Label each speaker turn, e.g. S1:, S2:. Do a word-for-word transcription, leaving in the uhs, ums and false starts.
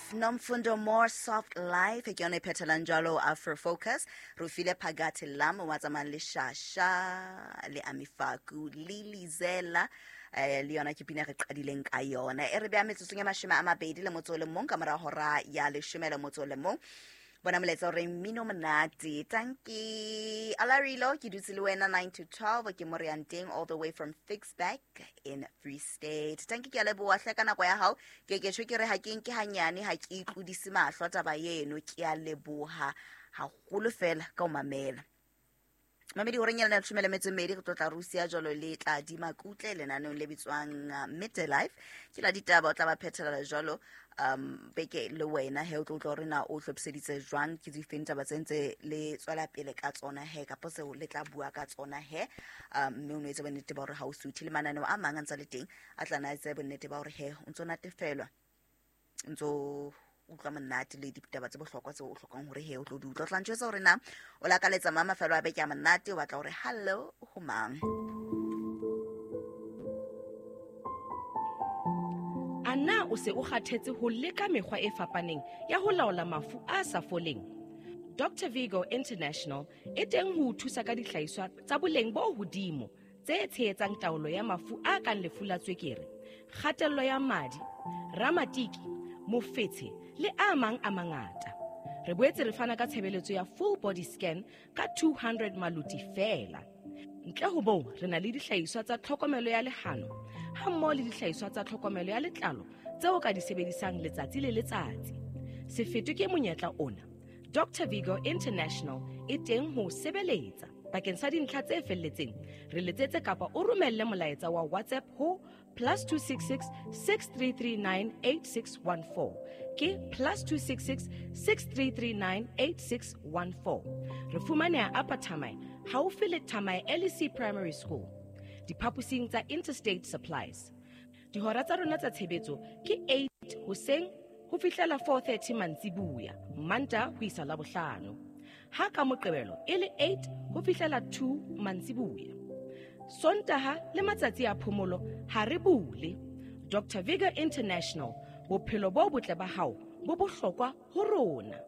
S1: Life, Nomfundo More Soft Life, ke yona e phethelang jalo Afro Focus. Re o file Phakathi Lam wa tsamayang le Shasha le Amifaku le Lizela, eh le yona ke pina re qadileng ka yona. E re beha metsotsong ya mashome a mabedi le motso o le mong ka mora hora ya leshome le motso o le mong. Bona molaetsa o reng mmino monate. Tanki Alarilo, ke dutse le wena nine to twelve, ke mo re yang teng all the way from Ficksburg in Free State. Tanki, ke a leboha hle ka nako ya hao. Ke ke tjho ke re ha ke nke hanyane, ha ke itlodise mahlo taba eno. Ke a leboha haholo fela ka ho mamela. Mamedi horeng ya leshome le metso e mmedi re tlo tla Russia jwalo le tla di makutle lenaneong le bitswang uh, Midday Life. Ke la ditaba o tla ba phethela jwalo um beke le wena he o tlo utlwa hore na o hlophiseditse jwang, ke difeng taba tse ntse le tswela pele ka tsona he kapo seo le tla bua ka tsona he, um mme o no etse bonnete ba hore ha o suthe le mananeo a mang a ntsa le teng a tla na etse bonnete ba hore he o ntso natefelwa, o ntso utlwa monate le ditaba tse bohlokwa tseo o hlokang hore he o tlo di utlwa. O tla ntjwetsa hore na o lakaletsa mang mafelo a beke a monate, o batla hore hello ho mang.
S2: A na o se o kgathetse ho leka mekgwa e fapaneng ya ho laola mafu a sa foleng? Doctor Vigo International e teng ho o thusa ka dihlahiswa tsa boleng bo hodimo tse tshehetsang taolo ya mafu a kang lefu la tswekere, kgatello ya madi, ramatiki, mofetshe le a mang a mangata. Re boetse re fana ka tshebeletso ya full body scan ka two hundred maluti feela. Ntle ho moo, re na le dihlahiswa tsa tlhokomelo ya lehano ha mmoho le dihlahiswa tsa tlhokomelo ya letlalo tseo ka di sebedisang letsatsi le letsatsi. Se fetwe ke monyetla ona. Doctor Vigo International e teng ho sebeletsa. Bakeng sa dintlha tse felletseng, re letsetse kapa o romelle molaetsa wa WhatsApp ho plus two six six, six three three nine, eight six one four. Ke plus two six six, six three three nine, eight six one four. Re fumaneha Upper Thamae, haufi le Thamae L E C Primary School, diphaposing tsa Interstate Supplies. Dihora tsa rona tsa tshebetso ke eight hoseng ho fihlela four thirty mantsibuya, Mantaha ho isa Labohlano. Ha ka Moqebelo e le eight ho fihlela two mantsibuya. Sontaha le matsatsi a phomolo ha re bule. Doctor Vigo International, bophelo bo botle ba hao bo bohlokwa ho rona.